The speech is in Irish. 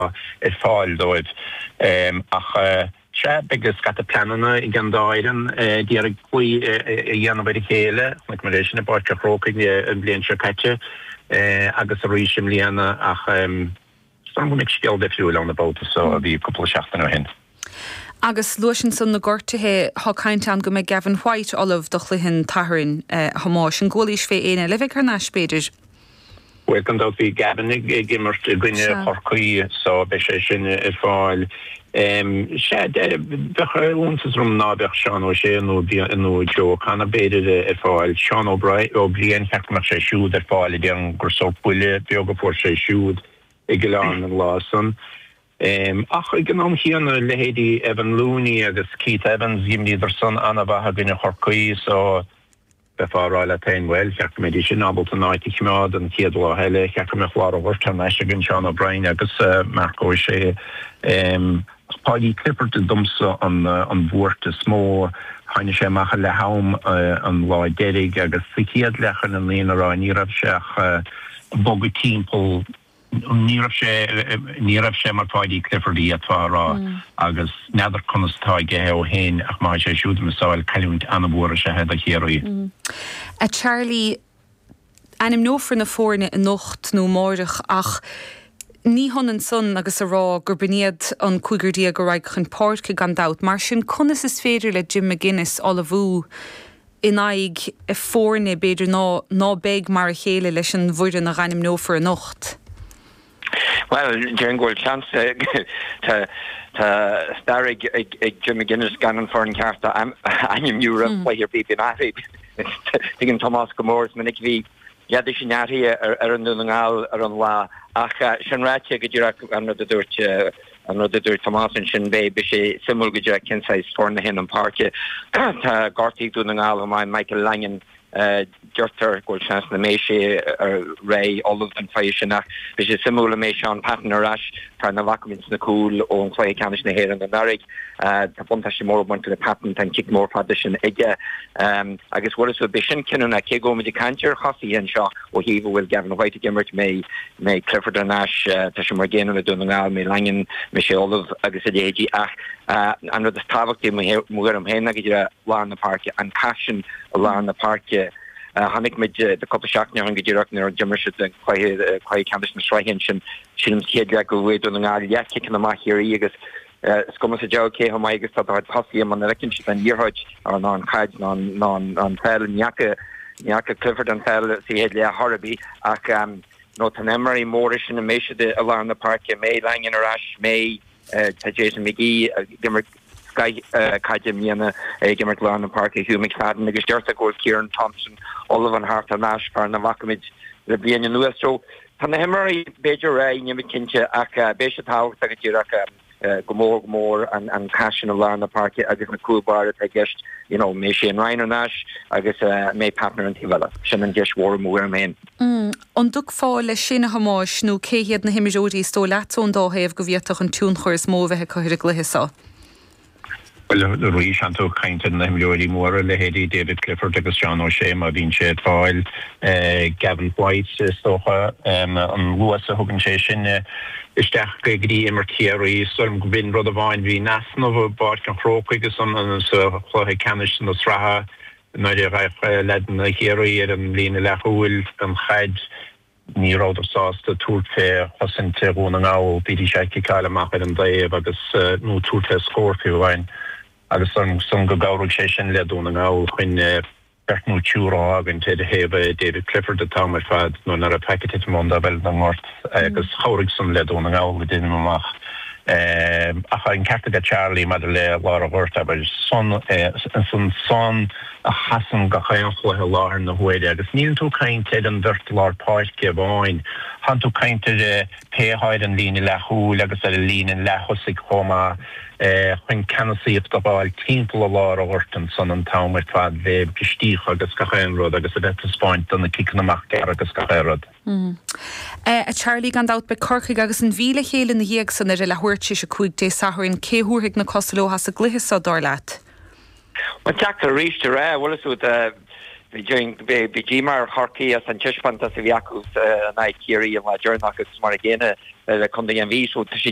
Ar fáil dóibh. Ach sea, beidh scata pleananna ag an dá fhoireann ag iarraidh cloí a dhéanamh ar a chéile. Chonaic muid é sin i bPáirc an Chrócaigh an bhliain seo caite agus arís i mbliana ach is dóigh liom go mbeidh scéal difriúil ann an babhta seo a bhí cúpla seachtain ó shin. Agus luais ansan na gortuithe, tá caint ann go mbeidh Gavin White ullamh do chluiche an tSathairn, a Thomáis. An gcualaís fé éinne eile a bheidh thar n-ais, b'fhéidir? Bhuel, gan dabht bhí Gavin ag imirt i gcoinne Chorcaí so beidh sé sin ar fáil. Sea, bheadh iontas orm ná beadh Seán O'Shea nó nó Joe O'Connor b'fhéidir ar fáil. Seán Ó Briain, cheart go mbeadh sé siúd ar fáil, déarfainn gur sórt buille beag a fuair sé siúd i gCill Airne an lá san. Ach ag an am chéanna, leithéidí Evan Looney agus Keith Evans, dh'imríodar san an-mhaith i gcoinne Chorcaí so, Bheifeá ag rá leat féin, bhuel, cheart go mbeidís sin ábalta an áit a choimeád an chéad lá eile, cheart go mbeadh lár an ghoirt thar n-ais againn, Seán O'Brien agus Marc O'Shea. Ach Paudie Clifford domsa an bhuairt is mó. Tháinig sé amach ag leath am an lá deiridh agus sa chéad leath chun an fhírinne a rá ní raibh sé ach ag bogadh timpeall Ní raibh sé, ní raibh sé mar Pháidí Clifford a d'fhéadfá a rá agus n'fheadar conas atá aige ó shin ach má tá sé siúd ag missáil, cailliúint an-mhór is ea é do Chiarraí. A Charlie, ainmneofar na foirne anocht nó amáireach ach ní hionann san agus a rá gurb in iad an cúigear a raghaidh chun páirce gan dabht. Mar sin conas is féidir le Jim McGuinness ullmhú in aghaidh foirne, b'fhéidir, ná ná beidh mar a chéile leis an bhfoireann a dh'ainmneofar anocht. Bhuel, déarfainn go bhfuil seans, tá tá stair ag ag Jim McGuinness gan an foireann ceart a ainmniú roimh chluiche ar bith, bíonn athruithe, tuigeann Tomás go mór, is minic a bhí leide sin athraithe ar fhoireann Dhún na nGall ar an lá ach sin ráite go díreach an rud a dúirt an rud a dúirt Tomás ansin beidh beidh sé suimiúil go díreach cén saghas foireann a théann chun páirce. Tá gortaithe ag Dún na nGall chomh maith, Michael Langan deirtear go bhfuil seans nach mbeidh sé réidh ullamh don chluiche sin ach beidh sé suimiúil an mbeidh Shaun Patton ar ais, fear nach bhfaca muid sna cúil ón chluiche ceannais na hÉireann anuraidh. Tá buntáiste mór ag baint le Patton, tá an cic mór fada sin aige agus bhfuil a fhios agat, beidh sin cinniúnach cé go bhfuil muid ag caint ar chosaithe anseo ó thaobh a bhfuil Gavin White ag imirt, mbeidh mbeidh Clifford ar ais, tá sé mar an gcéanna le Dún na nGall, mbeidh Langan, mbeidh sé ullamh agus a leithéidí ach an rud is tábhachtaí i mo thuairim féin ná go díreach lár na páirce, an cath sin i lár na páirce. Chonaic muid cúpla seachtain ó shin go díreach nuair a d'imir siad an cluiche, cluiche ceannais na sraithe ansin, sílim sa chéad leath gur bhuaigh Dún na Ngall leathchiceanna amach Chiarraí agus Is cuma sa diabhal cé chomh maith agus atá do chuid tosaithe muna bhfeiceann siad an liathróid ná an chaid ná an pheil. Ní fhaca ní fhaca Clifford an pheil sa chéad leath chor ar bith ach nó tá na himreoirí móra sin an mbeidh siad i lár na páirce, an mbeidh Langan ar ais, an mbeidh tá Jason McGee ag imirt scoith caide i mbliana ag imirt lár na páirce, Hugh McFadden agus deirtear go bhfuil Ciarán Thompson ullamh chun theacht thar n-ais, fear nach bhfaca muid le bliain anuas. So Tá na himreoirí b'fhéidir réidh, níl mé cinnte, ach beidh sé tábhachtach go díreach go mór go mór an cath sin i lár na páirce agus na cúl báire atá i gceist, you know, mbeidh Shane Ryan ar ais agus mbeidh Patton ar an taobh eile. Sin an gceist mhór i mo thuairim féin. An dtiocfá leis sin, a Thomáis, nó cé hiad na himreoirí is dóigh leatsa ón dá thaobh go bhféadfadh an tionchar is mó a bheith acu ar an gcluiche seo? Bhuel, arís, tánn tú ag caint ar na himreoirí móra, leithéidí David Clifford agus Seán O'Shea má bhíonn sé ar fáil, Gavin White is dócha, an luas a thugann sé sin isteach go dtí imirt Chiarraí. Is dóigh liom go b'in rud amháin, bhí in easnamh i bPáirc an Chrócaigh sa chluiche ceannais na sraithe nuair a ghabh leaideanna Chiarraí ar an líne leathchúil an chaid. Ní rabhadar sásta tabhairt fé chosaint Dhún na nGall, bhídís á ciceáil amach ar an dtaobh agus, nó tabhairt fé scór fiú amháin, agus ansan go gcabhraigh sé sin le Dún na nGall chun beirt nó triúr a fhágaint ar thaobh David Clifford an t-am ar fad nuair ná raibh faic ag titim ón dtaobh eile den ngort agus chabhraigh san le Dún na nGall, deinim amach. Ach an ceart aige Charlie maidir le lár an ghoirt, abair, san, ansan a sheasann gach aon chluiche i láthair na huaire agus níleann tú ag caint ar an bheirt lár páirce amháin, tánn tú ag caint ar pé atá ar an líne leathchúil agus ar an líne leath-thosaigh chomh maith chun ceannasaíocht a fháil timpeall i lár an ghoirt ansan an t-am ar fad le bristíocha agus gach aon rud agus a bheith ag taispeáint do na ciceanna amach gearra agus gach aon rud. A Charlie, gan dabht beidh Corcaigh agus an Mhí le chéile ina dhiaidh san ar a leathuair tar éis 5 Dé Sathairn. Cé a thabharfaidh na cosa leo as an gcluiche so, dar leat? Bhuel, deacair arís a rá, bhfuil a fhios agat. Bhí díomá ar Chorcaigh as an taispeántas a bhí acu in aghaidh Chiarraí an lá deireanach agus mar a gcéanna le Contae an Mhí. So tá sé.